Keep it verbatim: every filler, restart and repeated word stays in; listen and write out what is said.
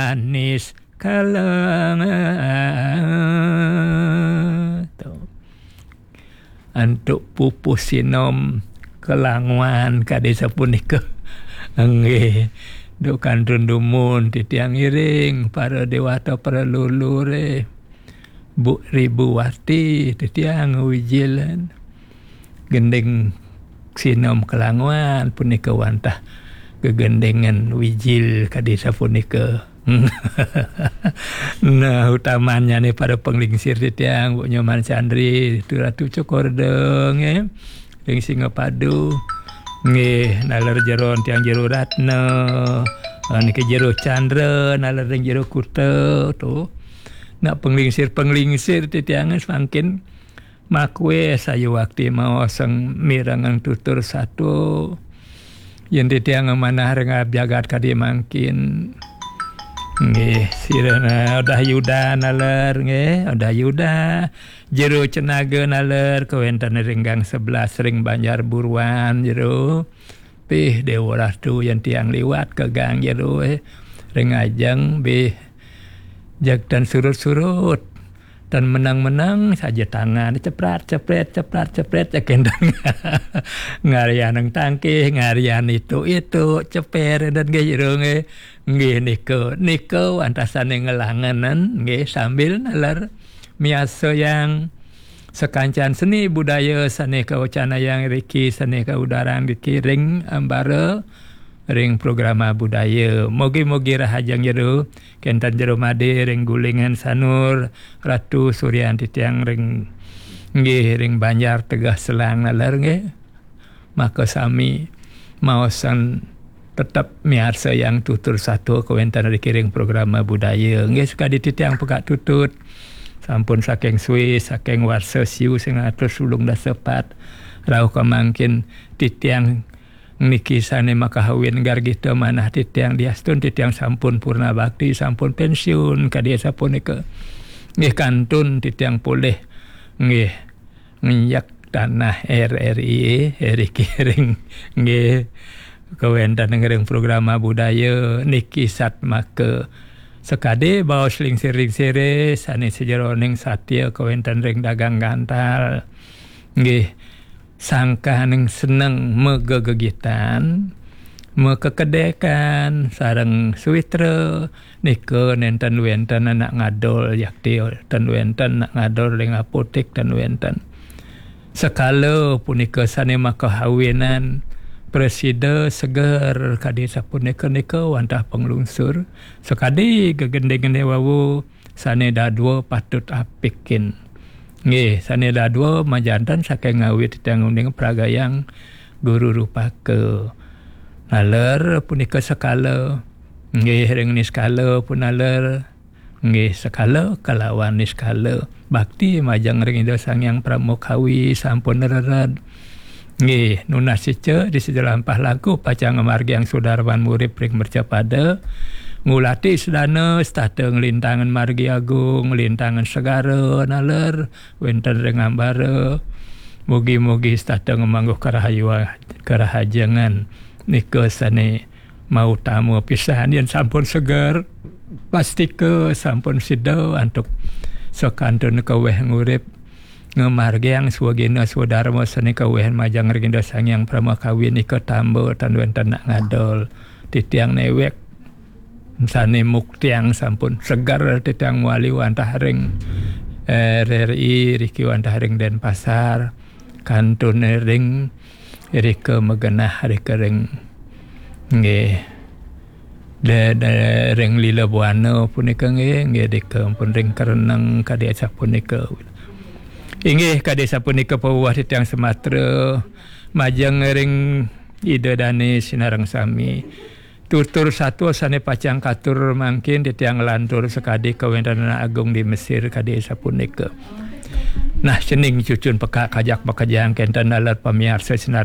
Anis Kalang. Tuh. Antuk pupuh sinom kelanguan kadi sapunika. Nggih. Duk kantun dumun titiang iring para dewata, para lulure. Bu Ribuwati titiang wijilan. Gending sinom kelanguan punika wantah gegendengan wijil kadi sapunika. Nah, utamannyane para panglingsir titiang, Bu Nyoman Chandri, Ratu Cokorde, nggih. Ring Singapadu. Nggih, naler jero tiang Jero Ratna. Ah, niki Jero Chandra, naler ring Jero Kuta, tuh. Nah, panglingsir-panglingsir titiang samangkin makwe sayuwakti maosang mirengang tutur satua. Yen titiang manah ring jagat kadi mangkin. Nggih, sira Odah Yuda naler, nggih, Odah Yuda. Jero Cenaga naler, kawenten ring gang sebelas ring Banjar Buruan, jero. Pih, Dewa Ratu, yen tiang liwat ka gang jero, eh, ring ajeng, bih, jeg tan surut-surut. Tan menang-menang saja tangan, ceprat, cepret, ceprat, cepret, ya kenten. Ngarian tangkih, ngarian itu, itu, ceper, dan nggih, jero, nggih. Nggih, nika, nika wantah sane ngelangenan, nggih, sambil naler miarsayang sakancan seni budaya sane kawecanayang riki, sane kaudarang riki ring ambara, ring programa budaya. Mugi-mugi rahajeng jero, kenten jero made ring Gulingan Sanur, Ratu Suryan titiang ring, nggih, ring Banjar Tegeh Selang naler, nggih. Maka sami maosan tetep miarsayang tutur satua kawenten riki ring programa budaya. Nggih, sakadi titiang pekak tutut. Sampun saking Swiss, saking warsa siu sing atus ulung dasa pat. Rauh kamangkin titiang niki sane makahawin gargita manah titiang diastun titiang sampun purna bakti, sampun pensiun, kadi sapunika. Nggih, kantun titiang polih. Nggih. Nginjak tanah R R I, riki ring, nggih, kawenten ring programa budaya niki satmaka sakadi baos lingsir-lingsire sane sajeroning satia kawenten ring dagang gantal. Nggih, sangkaning seneng magegegitan, makekedekan, sareng sawitra, nika nenten wenten anak ngadol yakti, ten wenten anak ngadol ring apotek, ten wenten. Sekala punika sane makahawinan prasida seger kadi sapunika nika wantah panglungsur. Sakadi gegendingane wau sane dadua patut apikin. Nggih, sane dadua majanten saking ngawit titiang uning pragayang guru rupaka. Naler punika sekala. Nggih, ring niskala punaler. Nggih, sekala kalawan niskala. Bakti majeng ring Ida Sang Hyang Pramakawi sampun rered. Nggih, nunas ica di sejelampah langkung pacang ngamargiang sudarman murip ring mercapada. Ngulati sedana setata nglintangan margi agung, nglintangan segara naler, wenten ring ambara. Mugi-mugi setata ngamangguh karahayu-, karahajengan. Nika sane mautama pisan yen sampun seger, pastika sampun sida antuk sakantun kaweh ngurip ngamargiang swagina swadarma sane kaweh majeng ring Ida Sang Hyang Pramakawi nika tamba tan wenten nak ngadol. Titiang newek sane muktiang sampun seger titiang mawali wantah ring, eh, R R I riki wantah ring Denpasar, kantun ring rika magenah rika ring, nggih, de, de, ring Lila Buana punika, nggih, nggih, rika pun ring Kereneng kadi asapunika. Inggih, kadi asapunika pabuah titiang Sumatra majeng ring Ida Dane sinareng sami. Tutur satua sane pacang katur mangkin titiang nglantur sakadi kawentenan agung di Mesir kadi sapunika. Nah, cening cucun pekak kajak makejang kenten naler pamiarsa sinareng